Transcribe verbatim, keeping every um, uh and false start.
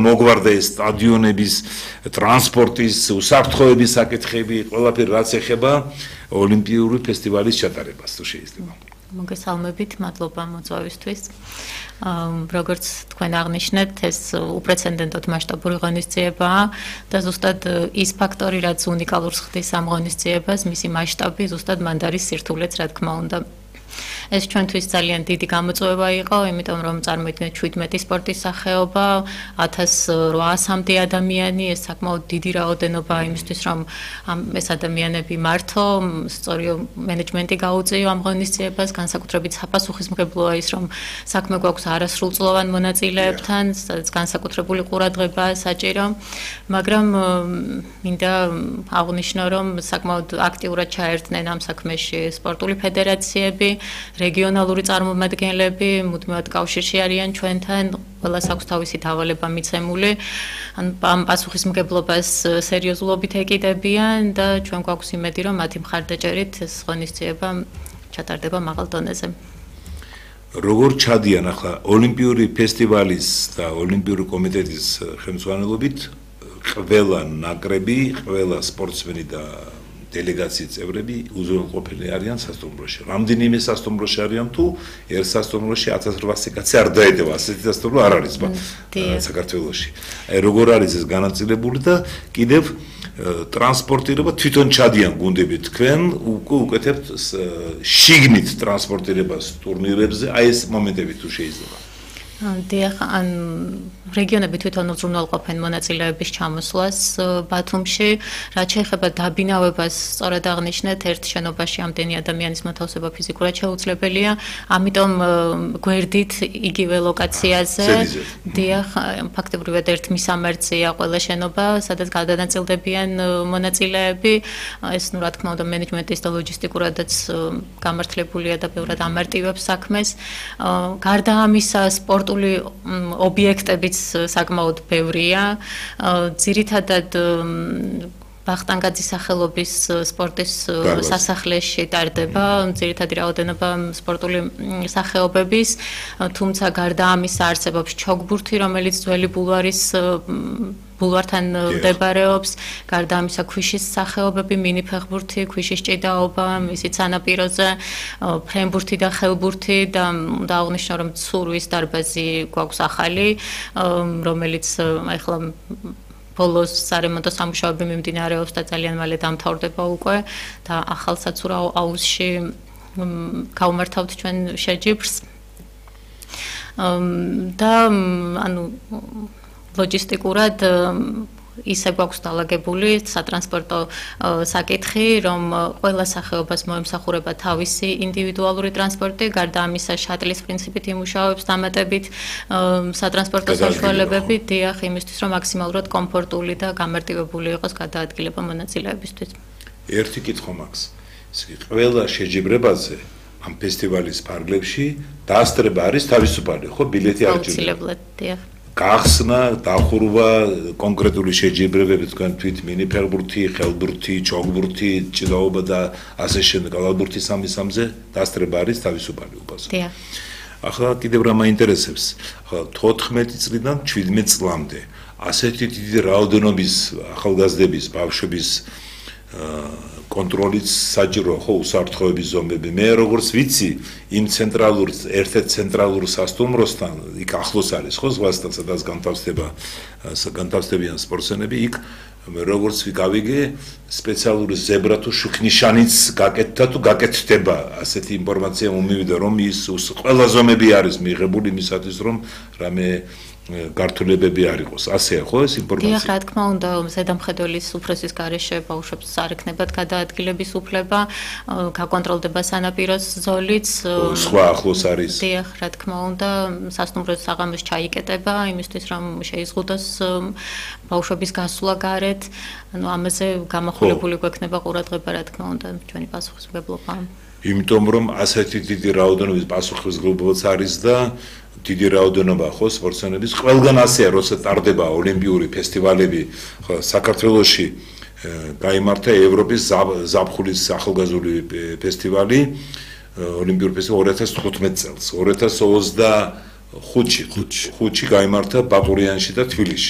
მოგვარდა ეს სტადიონების, ტრანსპორტის, უსაფრთხოების საკითხები, ყველაფერი რაც ეხება ოლიმპიური ფესტივალის ჩატარებას, თუ შეიძლება. მოგესალმებით, მადლობა მოწვევისთვის. როგორც თქვენ აღნიშნეთ, ეს უპრეცედენტოდ მასშტაბური ღონისძიებაა და ზუსტად ის ფაქტორი, რაც უნიკალურს ხდის ამ ღონისძიებას, მისი მასშტაბი ზუსტად მანდ არის სირთულეც, რა თქმა უნდა. ეს ჩვენთვის ძალიან დიდი გამოწვევა იყო, იმიტომ რომ წარმოიდგინეთ შვიდმეტი სპორტის სახეობა, ათას რვაასამდე ადამიანი, ეს საკმაოდ დიდი რაოდენობა იმისთვის, რომ ეს ადამიანები მართო, სწორი მენეჯმენტი გაუწიო ამ ღონისძიებას, განსაკუთრებით საპასუხისმგებლოა ის, რომ საქმე გვაქვს არასრულწლოვან მონაწილეებთან, სადაც განსაკუთრებული ყურადღებაა საჭირო, მაგრამ მინდა აღვნიშნო, რომ საკმაოდ აქტიურად ჩაერთნენ ამ საქმეში სპორტული ფედერაციები, რეგიონალური წარმომადგენლები მუდმივად კავშირში არიან ჩვენთან, ყველას აქვს თავისი დავალება მიცემული, ამ პასუხისმგებლობას სერიოზულობით ეკიდებიან და ჩვენ გვაქვს იმედი, რომ მათი მხარდაჭერით ეს ღონისძიება ჩატარდება მაღალ დონეზე. როგორ ჩადიან ახლა ოლიმპიური ფესტივალის და ოლიმპიური კომიტეტის ხელმძღვანელობით ყველა ნაკრები, ყველა სპორტსმენი და დელეგაციის წევრები უზრუნველყოფილი არიან სასტუმროში. რამდენიმე სასტუმროში არიან თუ ერთ სასტუმროში ათას რვაასი კაცი არ დაედევა, ასეთი სასტუმრო არ არის საქართველოში. აი როგორ არის ეს განაწილებული და კიდევ ტრანსპორტირება თვითონ ჩადიან გუნდები თქვენ უკეთებთ შიგნით ტრანსპორტირებას ტურნირებზე, აი ეს მომენტები თუ შეიძლება. დიახ, ან რეგიონები თვითონ უზრუნველყოფენ მონაწილეების ჩამოსვლას ბათუმში, რაც შეეხება დაბინავებას, სწორად აღნიშნეთ, ერთ შენობაში ამდენი ადამიანის მოთავსება ფიზიკურად შეუძლებელია, ამიტომ გვერდით იგივე ლოკაციაზე, დიახ, ფაქტობრივად ერთ მისამართია ყველა შენობა, სადაც გადანაწილდებიან მონაწილეები, ეს ნუ რა თქმა უნდა მენეჯმენტის და ლოჯისტიკურადაც გამართლებულია და ბევრად ამარტივებს საქმეს. გარდა ამისა, სპორტ ობიექტებიც საკმაოდ ბევრია. ძირითადად ბახტანგაძის სახელობის სპორტის სასახლეში ტარდება ძირითადი რაოდენობა სპორტული სახეობების, თუმცა გარდა ამისა არსებობს ჩოგბურთი, რომელიც ძველი ბულვარის ბულვართან მდებარეობს, გარდა ამისა ქვიშის სახეობები, მინიფეხბურთი, ქვიშის ჭიდაობა, ისიც სანაპიროზე, ფრენბურთი და ხელბურთი და უნდა აღვნიშნო, რომ ცურვის დარბაზი გვაქვს ახალი, რომელიც ახლა ბოლოს სარემონტო სამუშაოები მიმდინარეობს და ძალიან მალე დამთავრდება უკვე და ახალ საცურაო აუზში გავმართავთ ჩვენ შეჯიბრს. და ანუ ლოჯისტიკურად ისე გვაქვს დალაგებული სატრანსპორტო საკითხი, რომ ყველა სახეობას მოემსახურება თავისი ინდივიდუალური ტრანსპორტი, გარდა ამისა შატლის პრინციპით იმუშავებს დამატებით სატრანსპორტო საშუალებები, დიახ, იმისთვის, რომ მაქსიმალურად კომფორტული და გამარტივებული იყოს გადაადგილება მონაწილეებისთვის. ერთი კითხვა მაქვს. ყველა შეჯიბრებაზე ამ ფესტივალის ფარგლებში დაასწრება არის თავისუფალი, ხო, ბილეთი არ ჭირდება. აუცილებლად, დიახ. გახსნა, დახურვა, კონკრეტული შეჯიბრებები თქვენ თვით მინიფეხბურთი, ხელბურთი, ჩოგბურთი, ჭიდაობა და ასე შემდეგ, გალავბურთის ამისამზე დაასწრება არის თავისუფალი უპასო. დიახ. ახლა კიდევ რა მაინტერესებს, ახლა თოთხმეტი წლიდან შვიდმეტ წლამდე ასეთი დიდი რაოდენობის ახალგაზრდების, ბავშვების კონტროლიც საჭიროა, ხო, უსაფრთხოების ზომები. მე როგორც ვიცი, იმ ცენტრალურ ერთ-ერთ ცენტრალურ სასტუმროსთან, იქ ახლოს არის, ხო, ზღვასთან, სადაც განთავსდება განთავსდებიან სპორტსმენები, იქ როგორც გავიგე, სპეციალური ზებრა თუ შუქნიშანიც გაკეთდა თუ გაკეთდება, ასეთი ინფორმაცია მომივიდა, რომ ის ყველა ზომები არის მიღებული იმისათვის, რომ რამე გართულებები არ იყოს. ასეა ხო ეს ინფორმაცია? დიახ, რა თქმა უნდა, ზედამხედველის უფროსის გარეშე ბავშვებს არ ექნებათ გადაადგილების უფლება, გაკონტროლდება სანაპიროს ზოლიც. სხვა ახლოს არის. დიახ, რა თქმა უნდა, სასტუმროს საღამოს ჩაიკეტება, იმისთვის რომ შეიზღუდოს ბავშვების გასვლა გარეთ. ანუ ამაზე გამახვილებული გვექნება ყურადღება, რა თქმა უნდა, ჩვენი პასუხისმგებლობა. იმიტომ რომ ასეთი დიდი რაოდენობის პასუხისმგებლობაც არის და დიდი რაოდენობა ხო სპორტსმენების ყველგან ასეა, როცა ტარდება ოლიმპიური ფესტივალები, ხო საქართველოში გაიმართა ევროპის ზაფხულის ახალგაზრდული ფესტივალი, ოლიმპიური ფესტივალი ორი ათას თხუთმეტ წელს, ორი ათას ოცდა ხუთში, ხუთში. ხუთში გაიმართა ბაკურიანში და თბილისში.